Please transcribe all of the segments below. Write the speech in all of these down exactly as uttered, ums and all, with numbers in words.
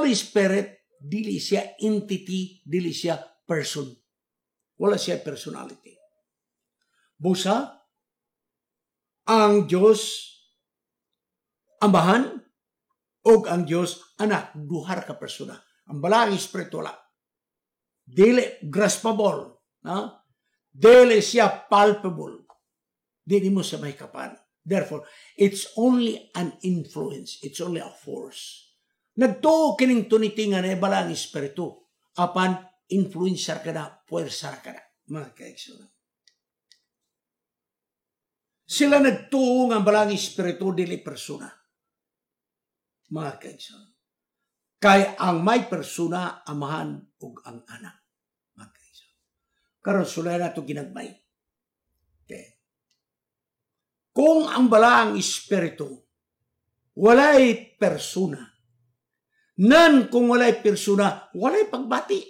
Holy Spirit dili siya entity, dili siya person. Wala siya personality. Busa, ang Diyos Amahan o ang Diyos Anak, duha ka persona. Ang Balaang Espiritu wala. Dili graspable. Ha? Dili siya palpable. Dili mo siya mahikapan. Therefore, it's only an influence. It's only a force. Nagtuo kining Trinity nga na Balaang Espiritu. Apan, influencer ka na, puwersa ka na. Mga kaigsuonan. Sila nagtuo nga ang Balaang Espiritu dili persona. Mga kaigsuonan. Kay ang may persona, Amahan ug ang Anak. Mga kaigsuonan. Karon sulay na ito ginagmay. Okay. Kung ang Balaang Espiritu walay persona, nan kung walay persona, walay pagbati.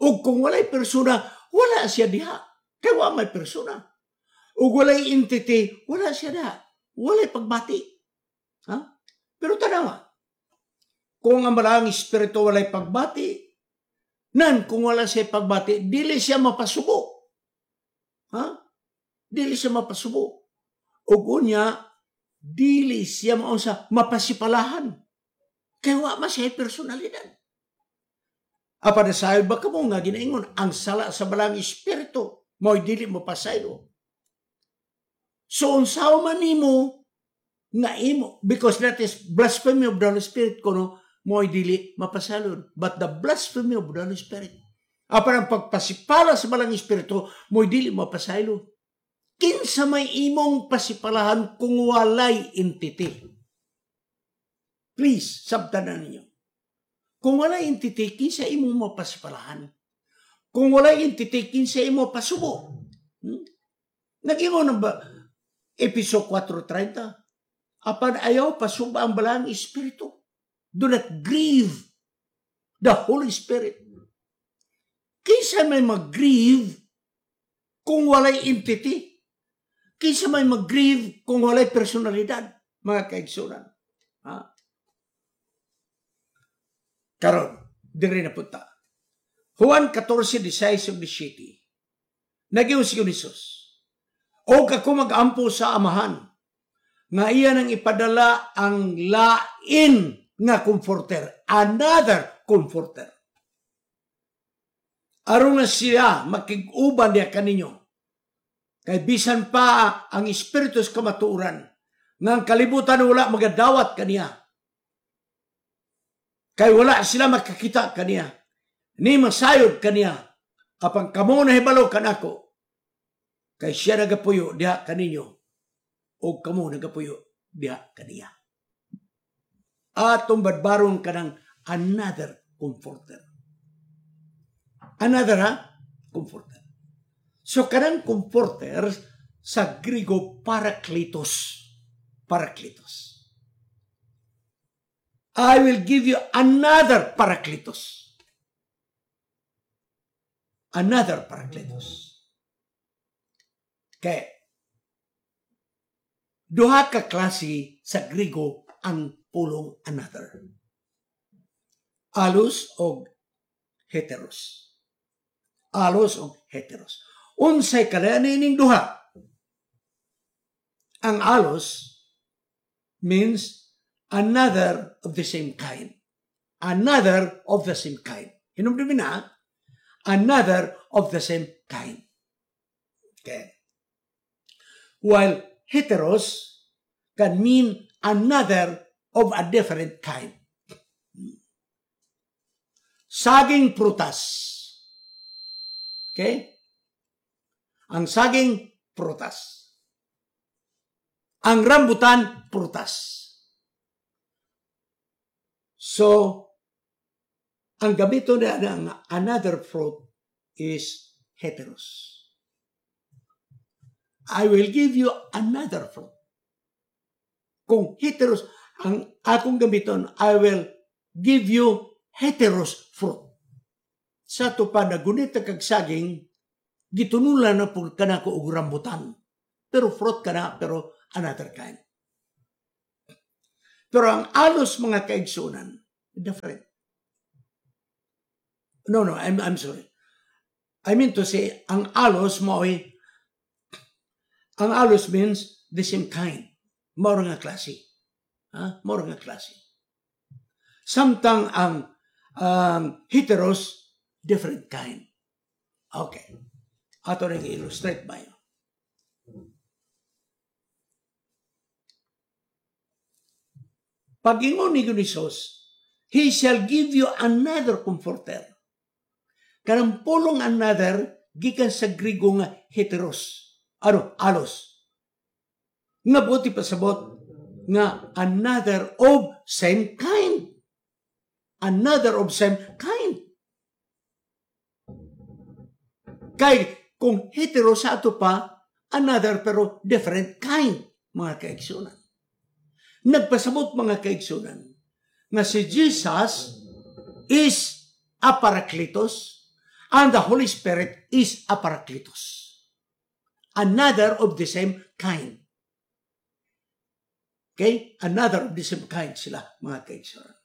O kung walay persona, wala siya diha. Kay wa may persona. O walay entity, wala siya diha. Walay pagbati. Ha? Pero tanawa, kung ang Balaang Espiritu walay pagbati, nan kung wala siya pagbati, dili siya mapasubo. Ha? Dili siya mapasubo. Ug unya, dili siya maunsa mapasipalahan. Kay wa man siya personalidad. Apa nasayod ba kamo nga ginaingon ang sala sa Balaang Espiritu mo'y dili mo pasaylo. So unsaon man nimo nga imo because that is blasphemy of the Holy Spirit kuno mo'y dili mapasalon. But the blasphemy of the Holy Spirit apan ang pagpasipala sa Balaang Espiritu mo'y dili mapasaylo. Kinsa may imong pasipalahan kung walay entity? Please, sabtan na ninyo. Kung walay entity, kinsa imong mapasipalahan? Kung walay entity, kinsa imo pasubo? Hmm? Nag-ingon ba Efeso four thirty? Apan ayaw pasuba ang Balaang Espiritu. Do not grieve the Holy Spirit. Kinsa may mag-grieve kung walay entity? Kinsa may mag-grieve kung walay personalidad? Mga kaigsuonan. Ha? Karon, diri na punta. Juan fourteen, sixteen ug seventeen. Nag-ingon si Jesus, "Og ako mag-ampo sa Amahan, nga iya nang ipadala ang lain nga comforter," another comforter. "Aron nga siya makig-uban diha kaninyo. Kay bisan pa ang Espiritu sa kamatuoran, nga ang kalibutan wala magadawat kaniya. Kay wala sila makakita kaniya, ni masayod kaniya. Apan kamo nahibalo kanako, kay siya nagapuyo diha kaninyo, o kamo nagapuyo diha kaniya." Atong badbaron kanang another comforter. Another ha? Comforter. So kanang comforter sa Grigo parakletos. Parakletos. I will give you another parakletos. Another parakletos. Kay duha ka klase sa Grigo ang pulong another. Allos og heteros. Allos og heteros. Unsay kalain ining duha? Ang allos means another of the same kind. Another of the same kind. Hinumdumi na, another of the same kind. Okay. While heteros can mean another of a different kind. Saging prutas. Okay? Ang saging prutas. Ang rambutan prutas. So, ang gamito na ng another fruit is heteros. I will give you another fruit. Kung heteros, ang akong gamiton, I will give you heteros fruit. Sa ato pa nagunit kag saging, gitunulan na po kanako og rambutan. Pero fruit ka na, pero another kind. Pero ang allos, mga kaigsuonan, Different. No, no, I'm, I'm sorry. I mean to say, ang allos mao'y, ang allos means the same kind. Mao nga klase. Ha? Mao nga klase. Samtang ang um, heteros, different kind. Okay. Ato rin illustrate ba yun? Pag-ingon ni Jesus, He shall give you another comforter. Kanang pulong another, gikan sa Grigo nga heteros. Ano? Alos. Nga buti pasabot, nga another of same kind. Another of same kind. Kay kung hetero sa ato pa, another pero different kind, mga kaigsunan. Nagpasabot mga kaigsunan nga si Jesus is a Parakletos and the Holy Spirit is a Parakletos. Another of the same kind. Okay? Another of the same kind sila, mga kaigsunan.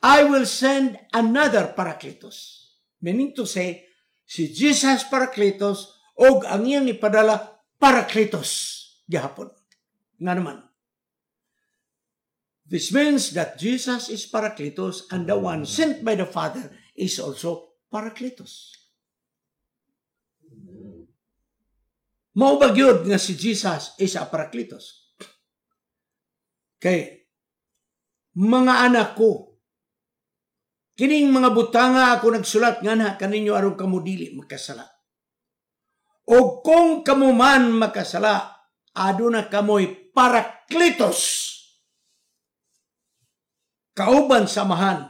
I will send another Parakletos. Meaning to say, si Jesus Parakletos og ang iyang ipadala Parakletos gihapon. Nga naman. This means that Jesus is Parakletos and the one sent by the Father is also Parakletos. Mao ba gyud nga si Jesus is a Parakletos? Kay mga anak ko, kining mga butanga ako nagsulat nga na kaninyo aron kamo dili makasala. O kung kamo man makasala, aduna kamoy Parakletos. Kauban sa Amahan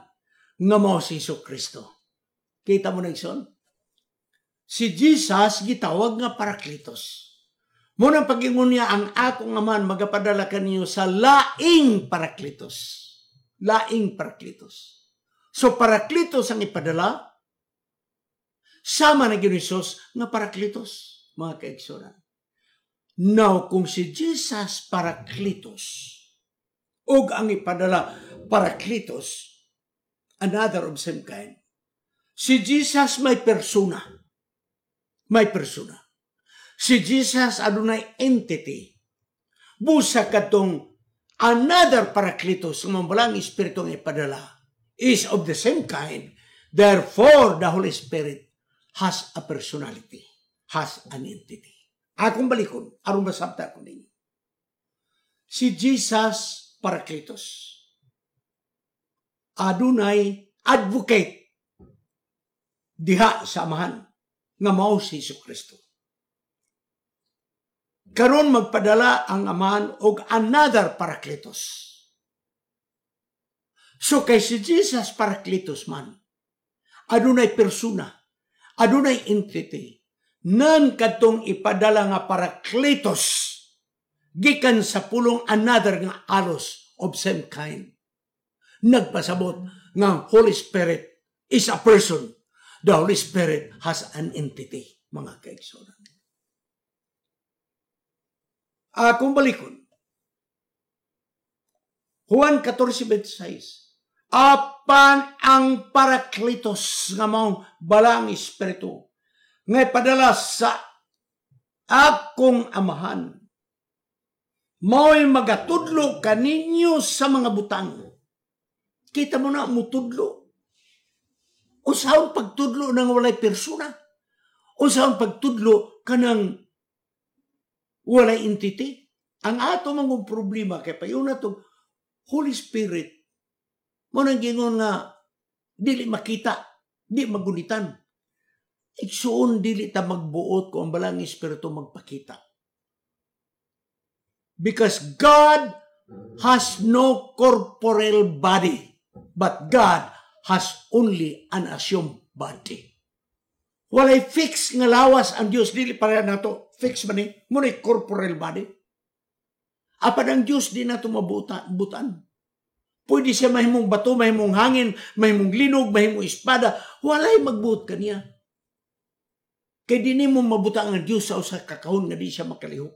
nga mao si Jesu Kristo. Kita mo na igsoon? Si Jesus gitawag nga Parakletos. Munang pag-ingon niya, ang akong Amahan magapadala kaninyo sa laing Parakletos. Laing Parakletos. So Parakletos ang ipadala, sama na gyud ni Jesus nga Parakletos, mga kaigsunan. Now, kung si Jesus Parakletos, og ang ipadala Parakletos, another of same kind, si Jesus may persona. May persona. Si Jesus adunay entity. Busa katong another Parakletos, ang mambalang Espiritu ang ipadala, is of the same kind. Therefore, the Holy Spirit has a personality, has an entity. Akong balikon, aron masabta ko ninyo. Si Jesus Parakletos, adunay advocate diha sa Amahan nga mao si Jesu Kristo. Karon magpadala ang Amahan og another Parakletos. So kay si Jesus Parakletos man, adunay persona, adunay entity, nan kadtong ipadala nga Parakletos gikan sa pulong another nga alos of same kind. Nagpasabot nga Holy Spirit is a person. The Holy Spirit has an entity, mga kaigsunan. Akong balikon, Juan fourteen twenty-six, apan ang Parakletos nga maong balang Espiritu nga ipadala sa akong Amahan, mao'y magatudlo kaninyo sa mga butang. Kita mo na, mutudlo. Unsaon pagtudlo nang walay persona? Unsaon pagtudlo kanang walay entity? Ang ato mangong problema kay payon na itong Holy Spirit, mo nang gingon nga dili makita, di magunitan. Igsuon dili ta magbuot kung ang balang Espiritu magpakita. Because God has no corporeal body, but God has only an assumed body. Walay fix nga lawas ang Dios, dili para nato fix man ni, mo ni corporeal body. Apan ang Dios di nato mabuta, butan. Pwede siya mahimong bato, mahimong hangin, mahimong linog, mahimong espada, walay magbuot kaniya. Kay di nimo mabuta ang Dios sa usa ka kahon nga di siya makalihok.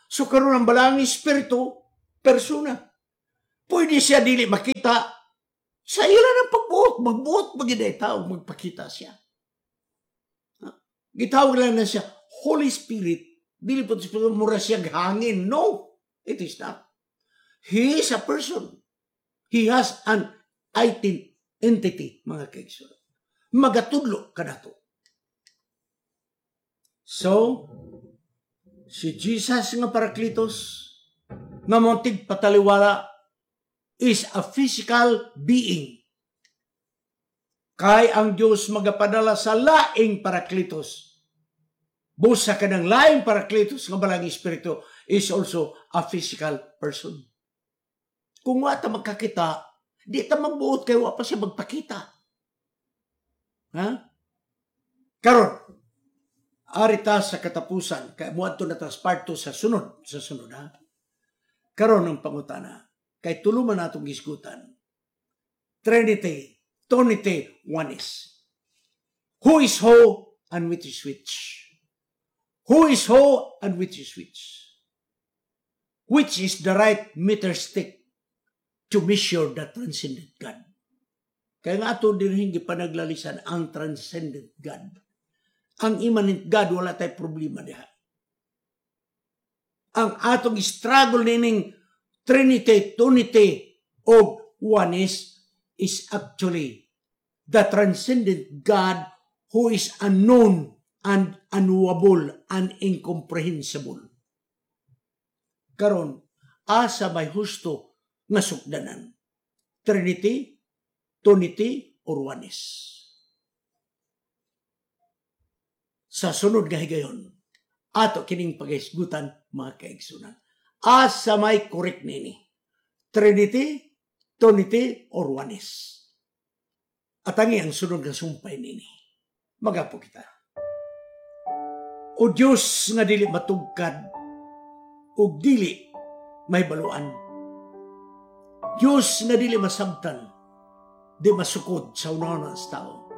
So karon ang balang Espiritu persona. Pwede siya dili makita sa ila ng pagbuot. Magbuot magyud tao, magpakita siya. Gitawag lang na siya, Holy Spirit. Dili po mura siya hangin. No, it is not. He is a person. He has an entity, mga kaigsoon. Magatudlo kanato. So, si Jesus nga Parakletos, nga mao tigpataliwala, is a physical being. Kay ang Diyos magapadala sa laing Parakletos. Busa kanang laing Parakletos nga balang Espiritu is also a physical person. Kung wa ta magkakita, di ta magbuot kay wa pa siya magpakita. Ha? Karon, arita sa katapusan, kay muadto na tas part two sa sunod, sa sunod ha. Karon ang pangutana, kay tulo man atong gisgutan. Trinity, Trinity, oneness. Who is who and which is which? Who is who and which is which? Which is the right meter stick to measure the transcendent God? Kaya nga ato din hindi pa naglalisan ang transcendent God. Ang immanent God, wala tay problema diha. Ang atong struggle nining Trinity, Trinity, o oneness is actually the transcendent God who is unknown and unknowable and incomprehensible. Karon, asa may husto nga sukdanan? Trinity, Trinity, or oneness? Sa sunod nga higayon, ato kining paghisgutan mga kaigsunan. Asa may correct nini? Trinity, Trinity, or oneness? Atangi ang sunod nga sumpay nini. Magapo kita. O Diyos nga dili matugkad, o dili may baluan. Diyos nga dili masabtan, di masukod sa unahon sa tao.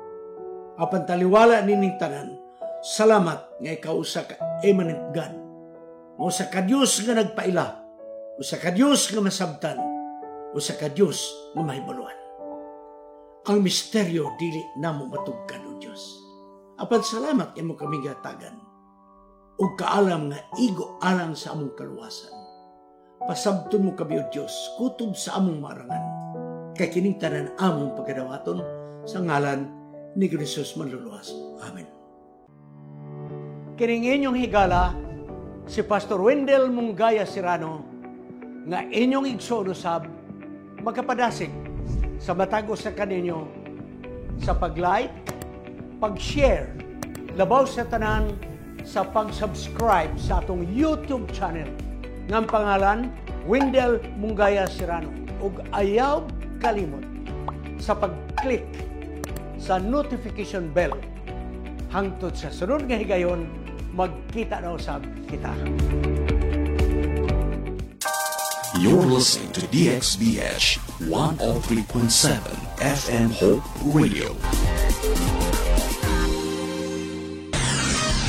Apan taliwala nining tanan, salamat nga ikaw usa ka immanent God. Usa ka Diyos nga nagpaila, usa ka Diyos nga masabtan, usa ka Diyos nga mahibaluan. Ang misteryo dili namo matugkad o Diyos. Apan salamat imo kami gatagan ug kaalam nga igo alang sa among kaluwasan. Pasabton mo kami o Diyos, kutob sa among marangan. Kay kining tanan among pagkadawaton sa ngalan ni Jesus manluluwas. Amen. Kining inyong higala, si Pastor Wendell Mungaya Serrano, nga inyong igsoon usab, magkapadasig sa matag usa kaninyo sa pag-like, pag-share, labaw sa tanan sa pag-subscribe sa atong YouTube channel ng pangalan Wendell Mungaya Serrano ug ayaw kalimot sa pag-click sa notification bell hangtod sa sunod nga higayon magkita na usab kita. You're listening to D X B H one oh three point seven F M Hope Radio.